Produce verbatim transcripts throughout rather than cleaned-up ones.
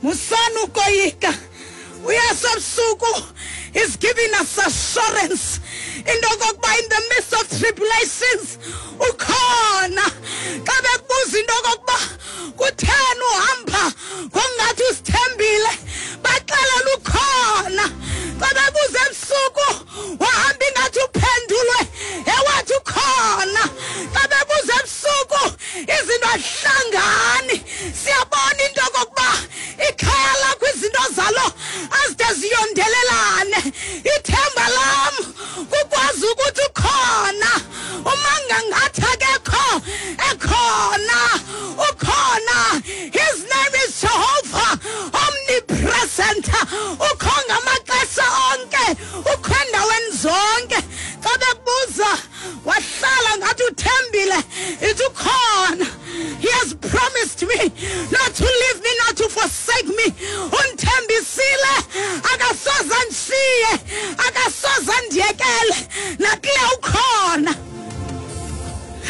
Musani ukoyika. UYesu ebusuku is giving us assurance into okokuba in the midst of tribulations ukhona. Xa bekubuza into okokuba kutheni uhamba ngokungathi usithembile, baxelela ukhona. Xa bebuza ebusuku wahamba ingathi uphendulwe, ewathi ukhona. Xa bebuza ebusuku izinto azihlangani, siyabona into okokuba ikhaya lakho izinto zalo azide ziyondelelane. Ithemba lam kukwazi ukuthi ukhona. Uma ngangathi akekho, ekhona, ukhona. His name is Jehovah, omnipresent. Ukho ngamaxesha onke, ukho endaweni zonke. Xa bekubuza wahlala ngathi uthembile, ithi ukhona. He has promised me not to leave me, not to forsake me. Undithembisile akasoze andishiye, akasoze andiyekele. Nakule ukhona.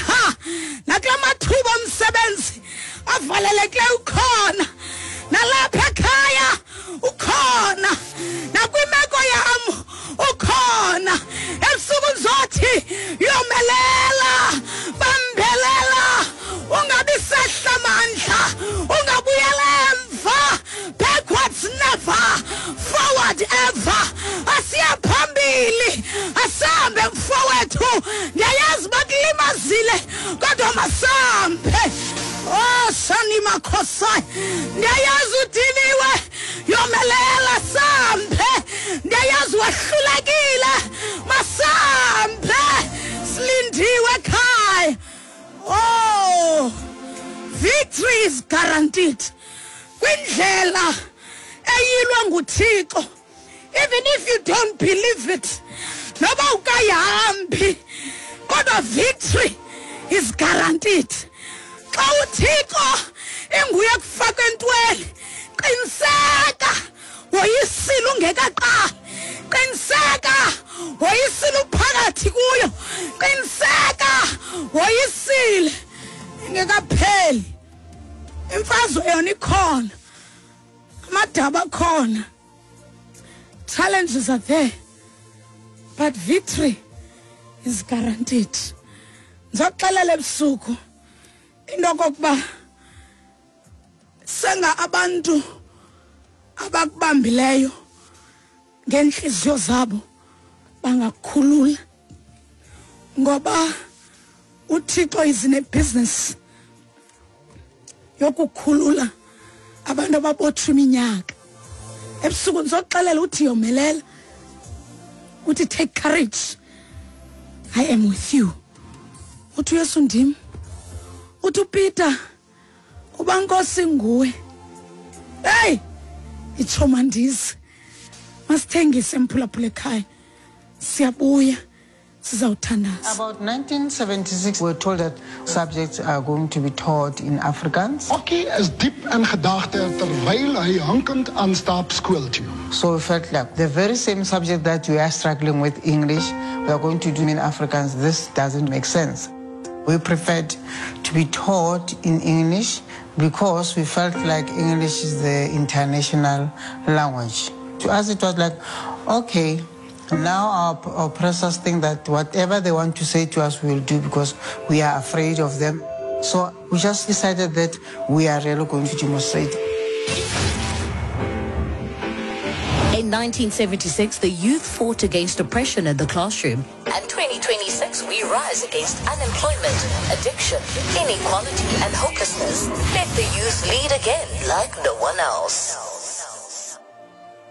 Ha, nakula mathuba omsebenzi avalelekileyo ukhona. Nalapha ekhaya ukhona. Nakwimeko yam ukhona. Ebusuku ndizothi yomelela, bambelela, ungabi sehla mandla, ungabuyela emva. Backwards never, forward ever. Asiya phambili, asambe mfowethu. Ndiyayazi bakulimazile, kodwa masambe. Oh, sani makhosai. Ndiyayazi udiniwe, yomelela sambe. Ndiyayazi wahlulekile, masambe. Silindiwe ekhaya. Oh, victory is guaranteed. Kwindlela eyilwa nguThixo, even if you don't believe it, noba ukayihambi, kodwa victory is guaranteed. Xa uThixo enguye kufaka entweni, qiniseka woyisile ungekaqali, qiniseka woyisile uphakathi kuyo, qiniseka woyisile ingekapheli. Imfazwe yona ikhona, amadaba akhona, challenges are there, but victory is guaranteed. Ndizokuxelela ebusuku into okokuba senga abantu abakubambileyo ngeenhliziyo zabo bangakukhulula, ngoba uThixo is in a business yokukhulula abantu ababotshwe iminyaka. Ebusuku ndizokuxelela uthi yomelela, uthi take courage, I am with you. Uthi uYesu ndim. Uthi uPeter, uba Nkosi nguwe, hey, itsho mandize, masithengise mphulaphula ekhaya, siyabuya sizawuthandaza. About nineteen seventy-six, we were told that subjects are going to be taught in Afrikaans. Okkie is diep in gedagte terwyl hy hinkend aanstap skool toe. So we felt like the very same subject that we are struggling with, English, we are going to do in Afrikaans. This doesn't make sense. We preferred to be taught in English because we felt like English is the international language. To us, it was like, okay, now our oppressors think that whatever they want to say to us, we will do because we are afraid of them. So we just decided that we are really going to demonstrate. In nineteen seventy-six, the youth fought against oppression in the classroom. And twenty twenty-six, we rise against unemployment, addiction, inequality, and hopelessness. Let the youth lead again like no one else.